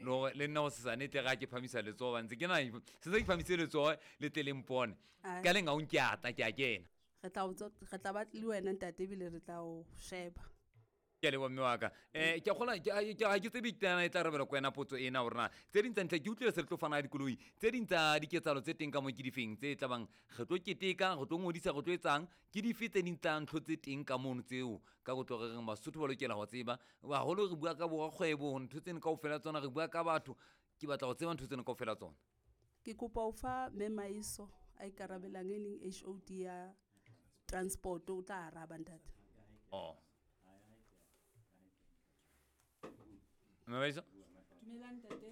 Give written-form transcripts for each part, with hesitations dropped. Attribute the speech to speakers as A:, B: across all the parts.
A: Le hore le nna hosesane tle ga ke phamisa letsoho ba ntse ke na se se ke phamise letsoho le tle le mpone. Ka leng ga o nke a tla ke a kena.
B: Re tla o re tla ba le wena ntate ebile re tla o sheba.
A: Ke a leboha mme wa ka. Um ke a kgola ga ke tsebe tana e tla rebela ko wena potso ena gore na tse ding tsa ntlha ke utlwile se re tlo fana ka dikoloi tse ding tsa diketsalo tse teng ka mo ke difeng tse tla bang re tlo keteka re tlo ngodisa re tlo etsang ke dife tse ding tsa ntho tse teng ka mono tseo ka go tlo re reng Basotho ba lokela go tseba haholo re bua ka borakgwebo ntho tseno kaofela tsona re bua ka batho ke batla go tseba ntho tseno kaofela tsona.
B: Ke kopa ho fa Mme Maiso a ikarabelang e leng HOD ya transport o tla araba ntate.
A: Oh. Mme Maiso?
C: Dumelang ntate.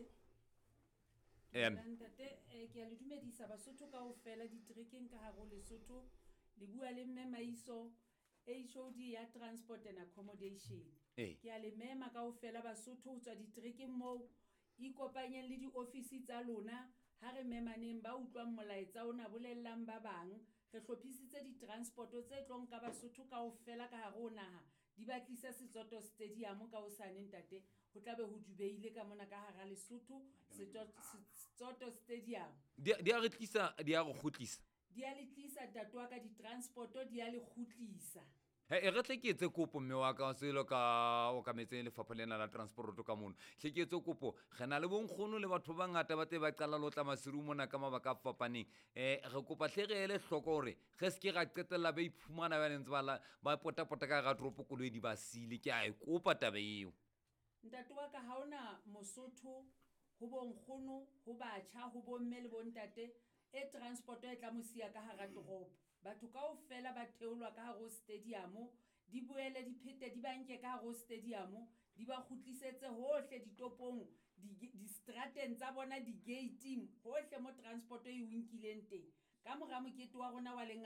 C: Dumelang ntate, eh, ke a le dumedisa Basotho kaofela diterekeng ka hare ho Lesotho. Le bua le Mme Maiso, HOD ya Transport and Accommodation.
A: Ee.
C: Ke a le mema kaofela Basotho ho tswa diterekeng moo. Ikopanyeng le diofisi tsa lona. Ha re memaneng ba utlwang molaetsa ona bolellang ba bang. Re hlophisitse ditransport tse tlo nka Basotho kaofela ka hare ho naha di ba tlise Setsoto Stadium ka hosane ntate. Ho tla be ho dubeile ka mona ka hara Lesotho Setsoto Stadium.
A: Di a re tlisa di a re kgutlisa.
C: Di a le tlisa ntate wa ka ditransport di a le kgutlisa.
A: He, e re tle ke etse kopo mme wa ka selo ka okametse lefapha lena la transporoto ka mono. Hle ke etse kopo, re na le bonkgono le batho ba bangata ba tle ba qala le ho tla Maseru mona ka mabaka a fapaneng. Re kopa hle re ele hloko hore re se ke ra qetella ba iphumana ba ntse ba ba potapota ka hara toropo koloi di ba siile. Ke a e kopa taba eo.
C: Ntate wa ka ha ona Mosotho ho bonkgono, ho batjha, ho bomme le bontate e transport e tla mo siya ka hara toropo. Batho kaofela ba theolwa ka hare ho stadium, di boele di phete di ba nke ka hare ho stadium, di ba kgutlisetse hohle ditopong, di strateng tsa bona, di-gate-ing, hohle mo transport e o nkileng teng. Ka mora mokete wa rona wa.